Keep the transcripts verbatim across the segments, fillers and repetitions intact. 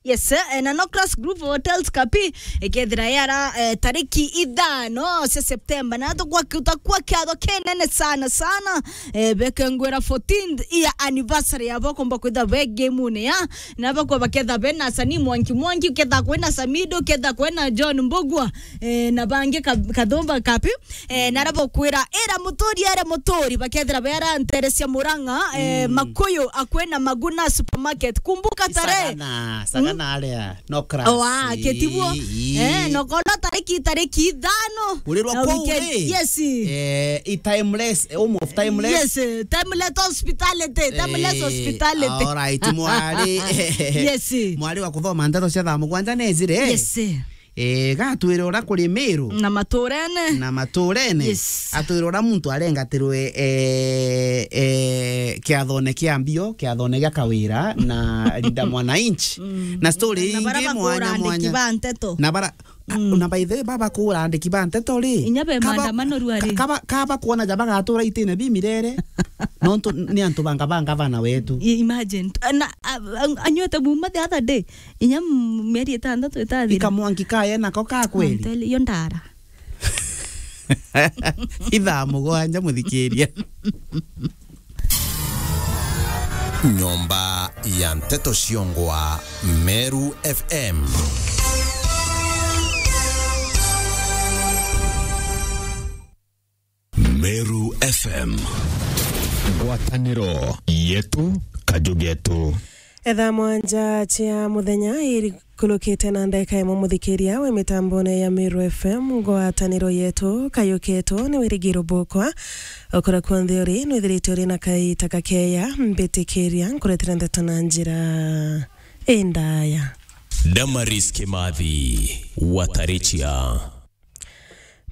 Yes, eh, na Nocras Group of Hotels Kapi, ikethira yara, eh, tariki ithano cia September, na tukwa kiuta kwa kiatho kinene sana sana, eh, bekengwira fourteenth year anniversary yabo, komba kwitha be game-une ya, na bakwa baketha be na Sani Mwangi Mwangi, ketha kwina Samido, ketha kwina John Mbugua, eh, na bangi ka-, Kathumba Kapi, eh, na arabokwira, ira muturi, ere muturi, bakethira bera ntere cia Murang'a, eh, Makuyu, akwina Maguna Supermarket. Kumbuka tarehe. Sagana, sagana aria, no crash. Owa, ketibuo. Ii. Eh, no kono tariki, tariki ithano. Urirwa na kuu weekend ri? Yes. Eh, i timeless, home of timeless. Yes, eh, timeless hospitality, timeless hospitality. All right, mwari. Yes. Mwari wa kuthoma ndeto cia thaa mugwanja nezire. Yes. Eh, gatwire ura kuri Meru. Na maturene. Na maturene. Yes. Atwire ura muntu arengatirwe, eh, eh, kiathone kia mbio, kiathone gia Kawira na Linda Mwananchi. Mm. Na story ingi mwanya mwanya. Na bara kura andiki ba nteto. Na bara, na by the way, baba kura andiki ba nteto ri. Inya be kaba, maandamano ruari. Kaba, kaba kuona ja bagatura itine bi mirere. Nontu ni antu banga banga bana wetu. I-, imagine. Na, a, a, anywete buma the other day. Inya m-, mieri itandatu itathira. Ikamwangi kaye nako ka kweli? I'm telling you, ndara. Ithaa mugwanja, muthikiria. Nyomba ya nteto ciongwa Meru F M. Meru F M. Ngwataniro yetu, kaju getu. Etha mwanja cia muthenya irikulukite na ndeka imwe, muthikiria we mitambone ya Meru F M, ngwataniro yetu, kayu ketu ni wirigiro bukwa. Okura kuonthe uri, nwithiritwe uri na kaita kakeya, mbitikiria nkuretera ndeto na njira indaya. Damaris Kimathi, Watarichia.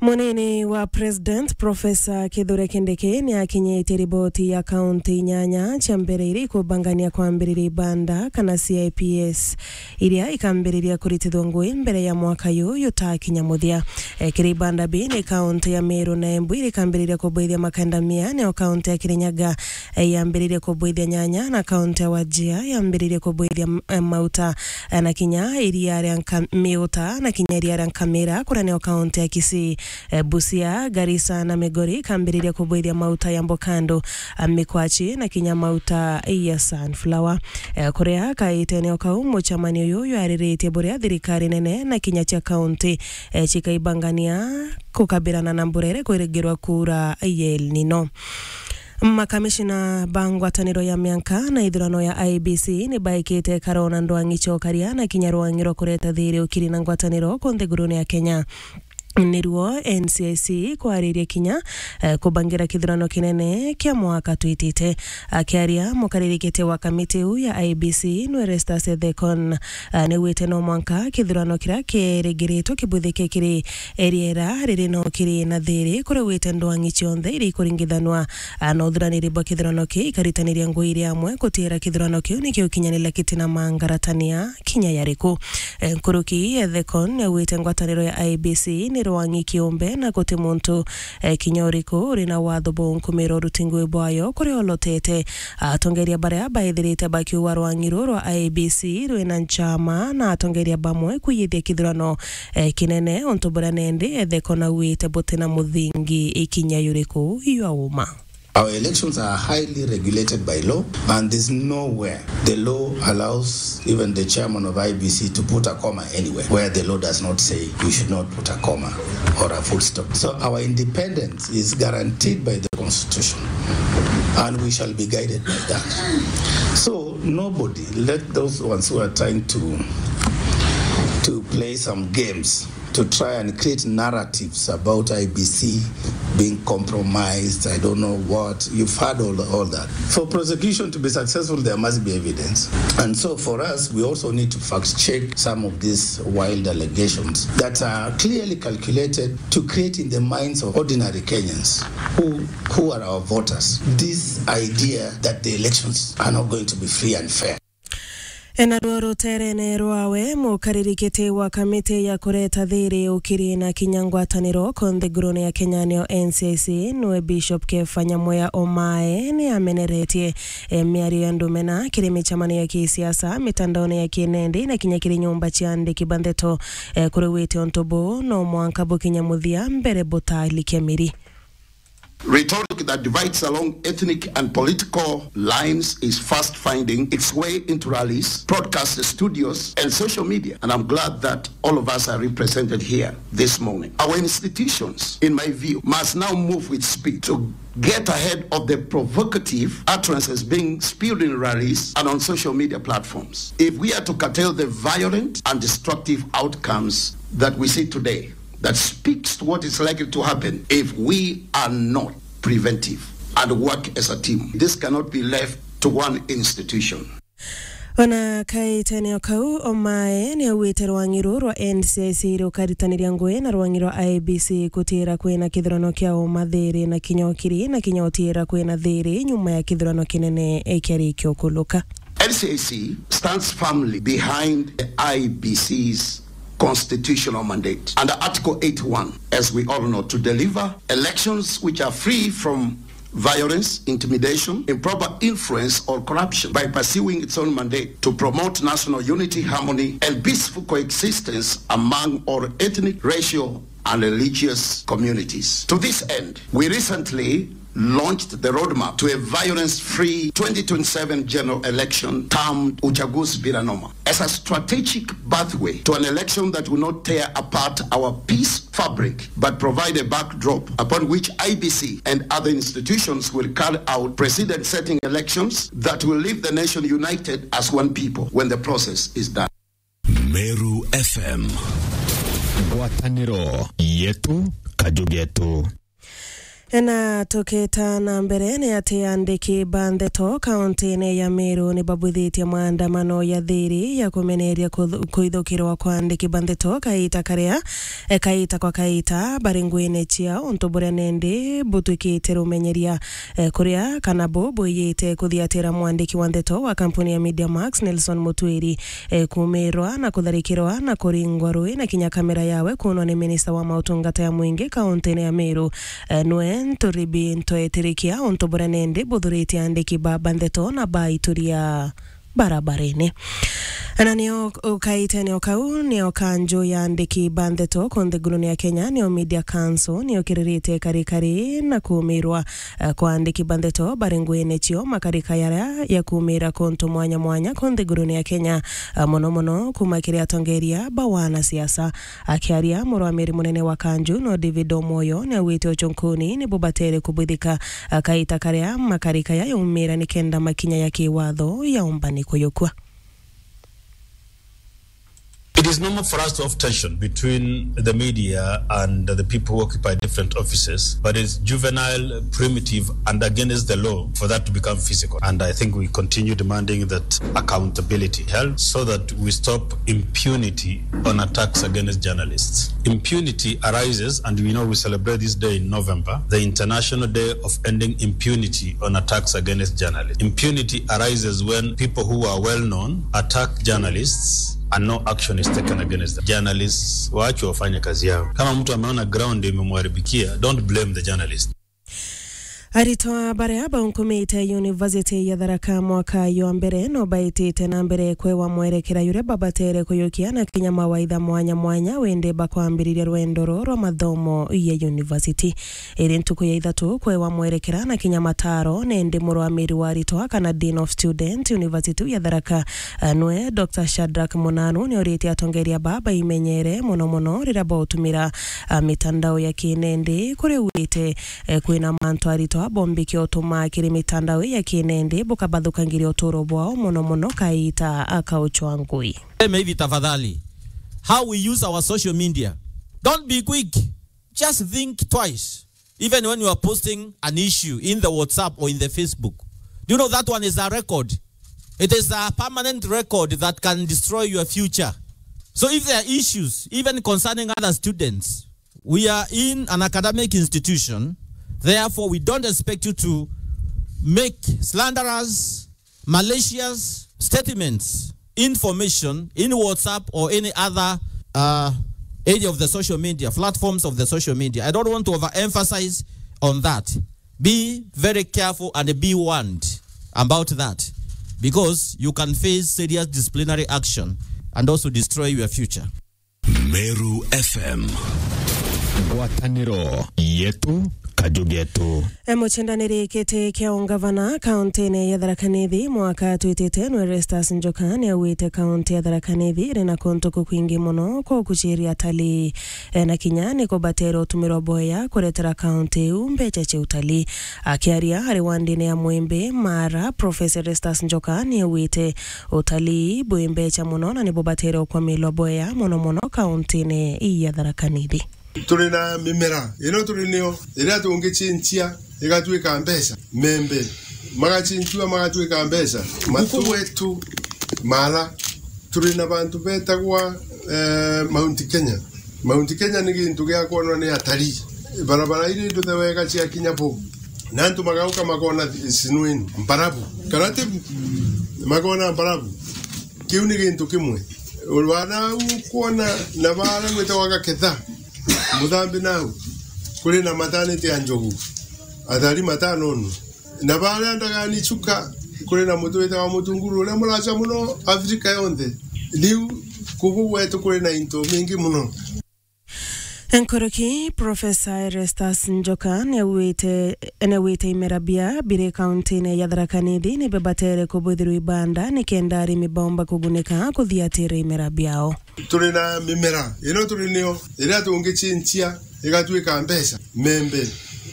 Munini wa President, Professor Kithure Kindiki, ni akinyitie riboti ya kaunti inyanya cia mbere iria ikubangania kwambiriria ibanda kana C I P S, iria ikambiriria kuritithwa ngui mbere ya mwaka yu yutakinya muthia. E, kiri ibanda bi ni kaunti ya Meru na Embu iria ikambiriria kubwithia makandamia, nio kaunti ya Kirinyaga, e, yambiririe kubwithia nyanya, na kaunti ya Wajir yambiririe kubwithia m-, e, mauta. E, na kinya iria ria nka-, miuta, na kinya iria ria nkamira, kuria nio kaunti ya Kisii. E, Busia, Garissa na Migori ikambiriria kubwithia mauta ya mbokando, a, mikwachi, na kinya mauta ya sunflower. E, kuria kaitene o kau, mucemani uyu jwariritie buria thirikari nene na kinya cia kaunti, e, cikaibangania kukabirana na mbura iria ikwirigirwa kuura ya El Nino. Makamishina ba ngwataniro ya mianka na ithurano ya I E B C ni baikite karo na ndwang'i cia ukaria na kinya rwang'i rwa kureta thiri, ukiri na ngwataniro ku nthigurune ya Kenya. Niruo N C I C kwariria kinya, eh, kubangira kithurano kinene kia mwaka twitite. Akiaria mukariri giti wa kamiti iu ya I E B C, Nwerestas Ethekon, eh, niwite no mwanka kithurano kiria kirigiritwe kibwithike kiri eriera riri no kiri na thiri, kuria wite ndwang'i cionthe iria ikuringithanwa, ah, na uthuraniri bwa kithurano kiu ikaritaniria ngui iri amwe kutiira kithurano kiu nikio kinyanira kiti na mangaratania kinya yariku. Eh, nkuruki Ethekon niaugite ngwataniro ya I E B C ni rwang'i kiumbe na guti muntu, eh, kinya uriku uri na watho bwa unkumira uruti ngui bwayo kuria olotete. Atongeria baria baithirite bakiuga rwang'i ruu rwa I E B C rwina nchama na atongeria bamwe kwiyithia kithurano, eh, kinene, untu buria nendi Ethekon augite butina muthingi ikinya yuriku ywa uma. Our elections are highly regulated by law, and there's nowhere the law allows even the chairman of I E B C to put a comma anywhere where the law does not say you should not put a comma or a full stop. So our independence is guaranteed by the constitution, and we shall be guided by that. So nobody, let those ones who are trying to, to play some games, to try and create narratives about I E B C being compromised, I don't know what. You've heard all, all that. For prosecution to be successful, there must be evidence. And so for us, we also need to fact check some of these wild allegations that are clearly calculated to create in the minds of ordinary Kenyans who, who are our voters, this idea that the elections are not going to be free and fair. Naruo ruterene rwawe, mukaririkiti wa kamiti ya kureta thiri, ukiri na kinya ngwataniro konthigurune ya Kenya, niyo N C I C, niwe Bishop Kefa Nyamweya Omae, ni ameneretie, eh, miario ya ndumena kiri micemanio ya kisiasa, mitandaone ya kinendi, na kinya kiri nyumba cia andiki ba ndeto, eh, kuri wite untu buu no mwanka bukinya muthia mbere butalikia miri. Rhetoric that divides along ethnic and political lines is fast finding its way into rallies, broadcast studios, and social media. And I'm glad that all of us are represented here this morning. Our institutions, in my view, must now move with speed to get ahead of the provocative utterances being spewed in rallies and on social media platforms. If we are to curtail the violent and destructive outcomes that we see today, that speaks to what is likely to happen if we are not preventive and work as a team. This cannot be left to one institution. Ona kaitenio kau, Omae ni augite rwangi ruu rwa N C I C rukaritaniria ngui na rwangi rwa I E B C kutira kwina kithurano kia uma thiri na kinya ukiri na kinya utira kwina thiri nyuma ya kithurano kinene kia rikio kuluka. N C I C stands firmly behind the I E B C's constitutional mandate under Article eighty-one, as we all know, to deliver elections which are free from violence, intimidation, improper influence, or corruption by pursuing its own mandate to promote national unity, harmony, and peaceful coexistence among all ethnic, racial, and religious communities. To this end, we recently launched the roadmap to a violence-free twenty twenty-seven general election termed Uchaguzi Bila Noma as a strategic pathway to an election that will not tear apart our peace fabric but provide a backdrop upon which I E B C and other institutions will carry out precedent-setting elections that will leave the nation united as one people when the process is done. Meru F M. Ngwataniro yetu, kaju getu. Na tukita na mbere, ni ati andiki ba ndeto kauntine ya Meru ni babwithitie maandamano ya thiri ya kumeneria kuthu-, kuithukirwa kwa andiki ba ndeto kaita karia, e, kaita kwa kaita bari nguine ciao, untu buria nendi butwikite rumenyeria, e, kuria kana bu bwiyite kuthiatira mwandiki wa ndeto wa kampuni ya Media Max, Nelson Mutwiri, e, kumirwa na kutharikirwa na kuringwa rui na kinya kamera yawe kunwa ni minista wa mautungata ya mwingi kauntine ya Meru, e, nwe Nturibi Ntwetirikia, untu buria nendi buthuritie andiki ba, ba ndeto na baituria barabarene. Na nio ukaite nio kau, nio kanju ya andiki ba ndeto kunthigurune ya Kenya, nio Media Council, nio kiririte karikari na kumirwa eh, kwa andiki ba ndeto bari nguine cio makarika yaria ya kumira kuntu mwanya mwanya kunthigurune ya Kenya, eh, mono mono kuma kiri atongeria ba wanasiasa. Akiaria, murwamiri munene wa kanju no David Omoyo ni augite ucunkuni ni bubatere kubwithika, eh, kaita karia makarika ya yaumira nikenda makinya ya kiwatho yaumbani kuyukua. It is normal for us to have tension between the media and the people who occupy different offices, but it's juvenile, primitive, and against the law for that to become physical. And I think we continue demanding that accountability held so that we stop impunity on attacks against journalists. Impunity arises, and we know we celebrate this day in November, the International Day of Ending Impunity on Attacks Against Journalists. Impunity arises when people who are well known attack journalists and no action is taken against them. Journalists waachwe wafanye kazi yao. Kama mtu ameona ground imemharibikia, don't blame the journalist. Aritwa baria baunkumite University ya Tharaka mwaka jwa mbere no baitite na mbere kwewa mwerekera juria babatere kuyukia na kinya mawaitha mwanya mwanya windi bakwambiriria rwendo ruu rwa mathomo ya university. Iri ntuku ya ithatu kwewa mwerekera na kinya mataro, nendi murwamiri wa aritwa kana Dean of Student University ya Tharaka, eh, nwe Doctor Shadrack Munanu ni uritie atongeria ba baimenyere mono mono riria bautumira, ah, mitandao ya kinendi kuri wite, eh, kwina mantu aritwa bombikia utuma kiri mitandao ya kinendi bukabathukangiria uturo bwao mono mono kaita akauchwa ngui. Sema hivi tafadhali, how we use our social media, don't be quick. Just think twice. Even when you are posting an issue in the WhatsApp or in the Facebook, do you know that one is a record? It is a permanent record that can destroy your future. So if there are issues, even concerning other students, we are in an academic institution, therefore we don't expect you to make slanderous, malicious statements information in WhatsApp or any other, uh, area of the social media, platforms of the social media. I don't want to overemphasize on that. Be very careful and be warned about that, because you can face serious disciplinary action and also destroy your future. Meru F M. Ngwataniro yetu, kaju getu. E, mucindaniri giti kia ungavana kauntine ya Tharaka Nithi mwaka twitite nwe Erastus Njoka ni augite kaunti ya Tharaka Nithi iri na kuntu kukwingi muno kwa ukuciria atalii. E, na kinya ni kubatera utumirwa boya kuretera kaunti iu mbeca cia utalii. Akiaria ari wandine ya Mwimbi Mara, Professor Erastus Njoka ni augite utalii bwi mbeca muno na ni bubatire ukwamilwa boya muno muno kauntine ya Tharaka Nithi. Turi na mimera ino turi nio iria tungicinchia igatuika mbeca. Membe magacinchua magatuika mbeca. Matu wetu mara turi na bantu betagwa, eh, Mount Kenya. Mount Kenya ni gintu gia kwonwa ni atalii. Barabara iri nduthe wega cia kinya bo. Na antu magauka makona snow ino, mbarabu. Kana ti bu? Makona mbarabu. Kiu ni gintu kimwe. Urwana u kwona na bara gwitagwa Gaketha. Muthambi nau. Kuri na maternity ya njogu. Athari matano nu. Na baria ndagani Chuka, kuri na mutu witagwa Mutunguru, uria muraca muno Afrika yonthe. Riu kubu gwetu kuri na into mingi muno. Nkuruki, Professor Erastus Njoka niaugite, niaugite imera bia biri kauntine ya Tharaka Nithi ni bibatere kubwithirwa ibanda nikenda arimi baumba kugunika kuthiatira imera biao. Turi na mimera ino turi nio iria tungicinchia igatuika mbeca. Membe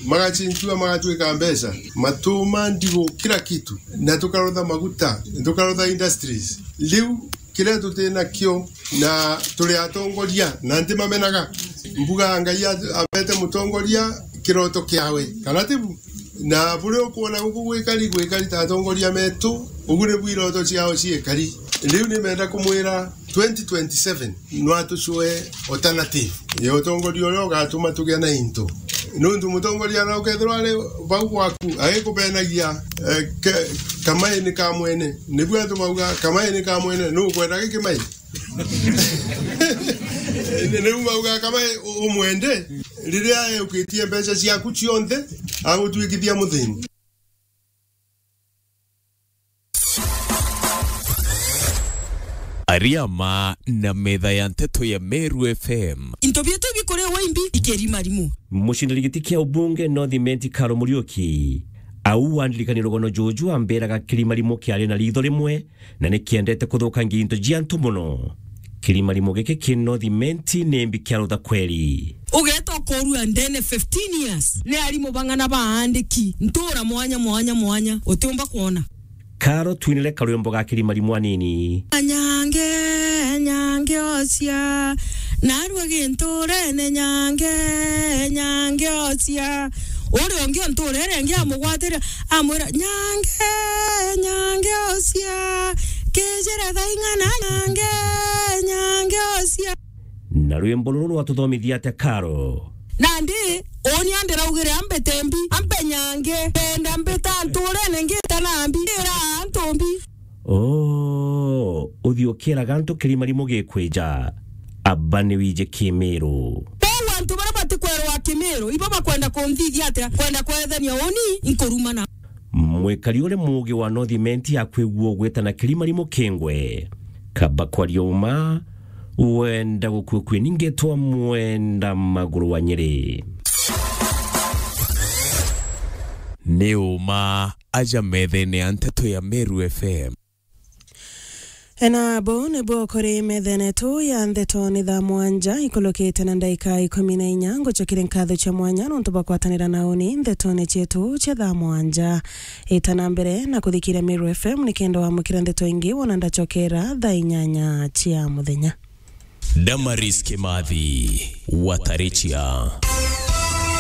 magacinchua magatuika mbeca. Matuma, ndigu, kila kitu. Na tukarotha maguta, tukarotha industries. Riu kiria tuti nakio na turi atongoria na ntimamenaga. Mbuga Ngai a-, abete mutongoria kiroto kiawe. Kana ti bu? Na buria ukwona guku gwikari, gwikari ta atongoria metu, ugu nibu iroto ciao ciikari. Riu nimenda kumwira twenty twenty-seven, no atucue alternative ya utongoria uria ugatuma tugia na into. Nuntu mutongoria na ukethirwa ari bau gwaku, agikubenagia, eh, ke-, kamaini ka mwene. Nibu antu bauga, "Kamaini ka mwene, nu ukwenda giki mai?" Ni-, nibu bauga, "Kamai u-, umwende, riria eukitie mbeca ciaku cionthe, agutwikithia muthini." Ariama na metha ya nteto ya Meru F M. Into bietu bikuriwa imbi ikirimarimo. Mucindani giti kia ubunge North Imenti Karo Muriuki, au wandirikania rugono juju ambiraga kirimarimo kiari na ritho rimwe, na ni kiendete kuthukangia into cia antu mono. Kirimarimo giki ki North Imenti ni mbi kia rutha kweri. Ugeeta ukorua ndene fifteen years. Ni arimu bang'ana baandiki ntuura mwanya, mwanya, mwanya, utiumba kwona. Karo twinire karwimbo ga kirimarimo anini. Nyange, nyange ocia, narua ginturene, nyange, nyange ocia. Uria ungi o ntuura iria ingi amugwatira, amwira, "Nyange, nyange ocia, kijire thaa ing'ana, nyange, nyange ocia." Na rwimbo ruru rwatuthomithia atia Karo? Nandi, uni andiraugire ambe tembi, ambe nyange, kenda mbita ntuurene ngita na mbi, ira antu mbi. Oo, uthi ukiraga antu kirimarimo gikwija, aba ni wiji kimiru. Kwou antu baria batikwerwa kimiru, ibo bakwenda kunthithia atia? Kwenda kwethania uni, inkurumana. Mwikari uria muugi wa North Imenti akwigua ugwitana kirimarimo kingwe. Kaba kwaria uma, wenda gukua kwi ningetwa mwenda maguru wa Nyeri. Ni uma aja methene ya nteto ya Meru F M. Ena bo nibo kuri methene tu ya nteto ni thaa mwanja ikulukite na ndaika ikumi na inya. Ngucokire nkatho cia mwanya nontu bwa kwatanira na uni ntetone cietu cia thaa mwanja. Ita na mbere na kuthikiria Meru F M nikenda wamukira nteto ingi wona ndacokera thaa inyanya cia muthenya. Damaris Kimathi, Watarichia.